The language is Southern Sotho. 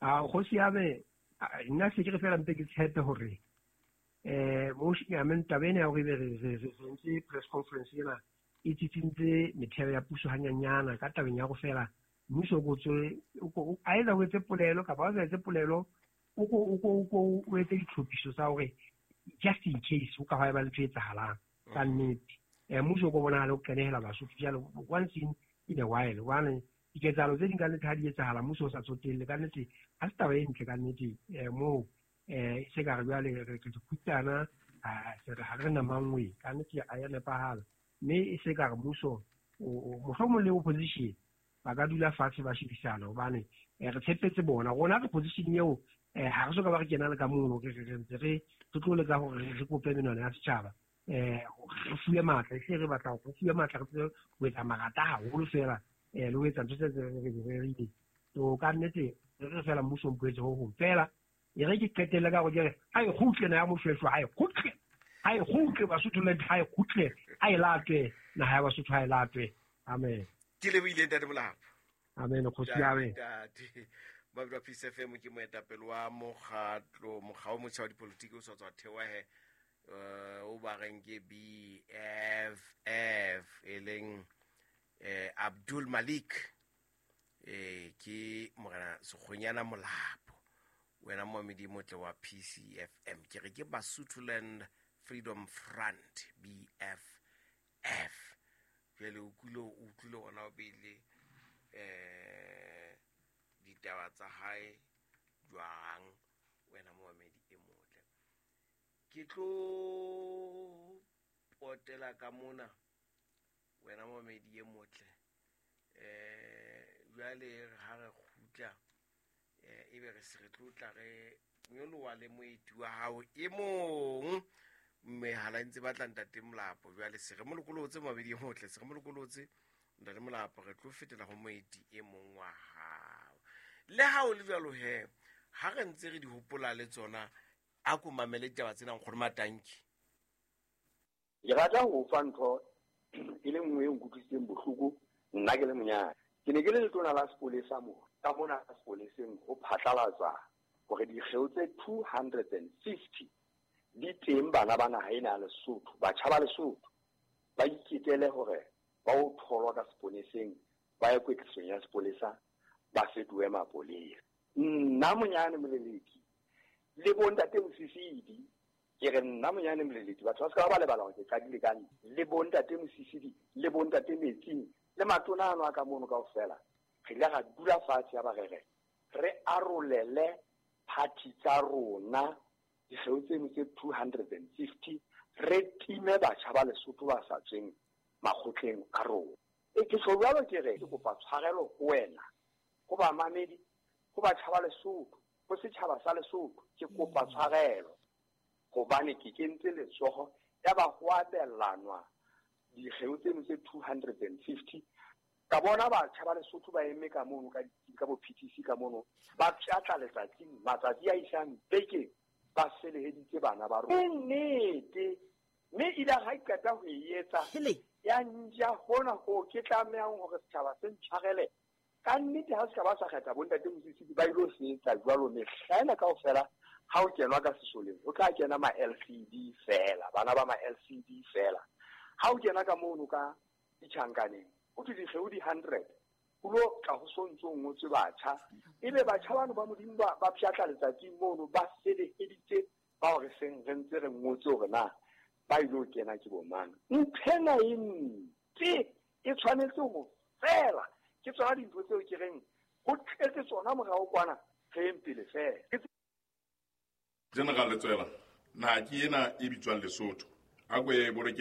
A kgosi ya me nna se ke re fela mpe ke tshepe hore mo I mean taba ena ya hore ebe re entse press conference ena e tsitsintse metheo ya puso hanyanyana ka tabeng ya go fela mmuso o ko tswe a etsa o etse polelo kapa o sa etse polelo, o ko o etse ditlhophiso tsa hore just in case o ka hwa eba le ntho e etsahalang ka nnete, mmuso o ko bonahale o qenehela Basotho jalo once in a while, hobane diketsahalo tse ding ka nnete ha di etsahala mmuso o sa tsotelle, ka nnete ha se taba e ntle ka nnete. Moo se ka re jwale re dikhutsana, ha re na mangwe, ka nnete a ya nepahala, mme e se ka re mmuso mohlomong le opposition ba ka dula fatshe ba shebisana, hobane re tshepetse bona. Rona re position eo, ha re soka ba re kena le ka mono, re ntse re tlo leka hore re kope menwana ya setjhaba, re fuwe matla, e se re batla hore re fuwe matla, re tsebe ho etsa marata haholo fela, le ho etsa ntho tse re di rerile. So ka nnete re fela mmuso o mpoetse ho hong fela. E re ke qetelle ka hore ke re ha e kgutle na ya Moshweshwe, ha e kgutle, ha e kgutle Basotho land, ha e kgutle, ha e latwe naha ya Basotho, ha e latwe. Amen. Ke lebohile, ntate Molapo. Amen, kgosi ya me. Ntate Mabelo Peace FM ke moetapele wa mokgatlo, mokga o motjha wa dipolotiki o sa tswa thewa he, o ba reng ke BFF, e leng Abdul Malik, ke morena Sekgonyana Molapo. Wena moamedi motle wa PCFM, ke re ke Basotholand Freedom Front, BFF. Jwale o utlwile ona o beile ditaba tsa hae jwang, wena moamedi e motle? Ke tlo potela ka mona, wena moamedi e motle. Jwale ha re kgutla, ebe re se re tlo tla re nyoloha le moeti wa hao e mong. Mehala e ntse batla ntate Molapo, jwale se re mo lokolotse, moamedi e motle, se re mo lokolotse ntate Molapo, re tlo fetela ho moeti e mong wa hao. Le ha o le jwalo he, ha re ntse re di hopola le tsona, a ko mamele ditaba tsena, nkgono Matanki. Ke rata ho fa ntho e le nngwe e nkutlwisitseng bohloko nna ke le monyane. Ke ne ke le letona la sepolesa mo ka mona sepoleseng ho phatlalatsa hore dikgeo tse 250 di teng, bana ba naha ena ya Lesotho, batjha ba Lesotho ba iketele hore ba o tholwa ka sepoleseng, ba ye kwetlisong ya sepolesa, ba fetohe mapolesa. Nna monyane Moleleki le bontate Mosisidi, ke re nna monyane Moleleki, batho ba se ka ba lebala hore ke qadile ka nna le bontate Mosisidi le bontate Metsing le matona ano a ka mono kaofela, re ile ra dula fatshe ya ba re re re arolele party tsa rona dikgeo tseno tse 250, re time batjha ba Lesotho ba sa tsweng makgotleng a rona. E ke tjho jwalo, ke re ke kopa tshwarelo ho wena, ho bamamedi, ho batjha ba Lesotho, ho setjhaba sa Lesotho. Ke kopa tshwarelo hobane ke kentse letsoho ya ba ho abelanwa dikgeo tseno tse 250. Ka bona batjha ba Lesotho ba eme ka mono ka bo PTC ka mono, ba pshatla letsatsing, matsatsi a isang bekeng, ba feleheditse bana ba rona. Ke nnete, mme ile ha qeta ho e etsa ya nja hona ho ke tlamehang hore setjhaba se ntshwarele ka nnete. Ha se ka ba sa kgetha bontate Mosisidi ba ilo se etsa jwalo mehla ena kaofela. Ha o kenwa ka sesoleng ho tla kena ma LCD fela, bana ba ma LCD fela. Ha o kena ka mono ka ditjhankaneng ho thwe dikgeo di 100, ho lo tla ho sontso o ngotswe batjha, ebe batjha bano ba Modimo ba pshatla letsatsing mono, ba feleheditse bao re seng re ntse re ngotse hore na ba ilo kena ke bo mang. Nthena e mpe e tshwanetse ho fela. Ke tsona dintho tseo ke reng ho tletse tsona morao kwana, re yeng pele fela. General Letsoela, naha ke ena e bitswang Lesotho, a ko e boloke.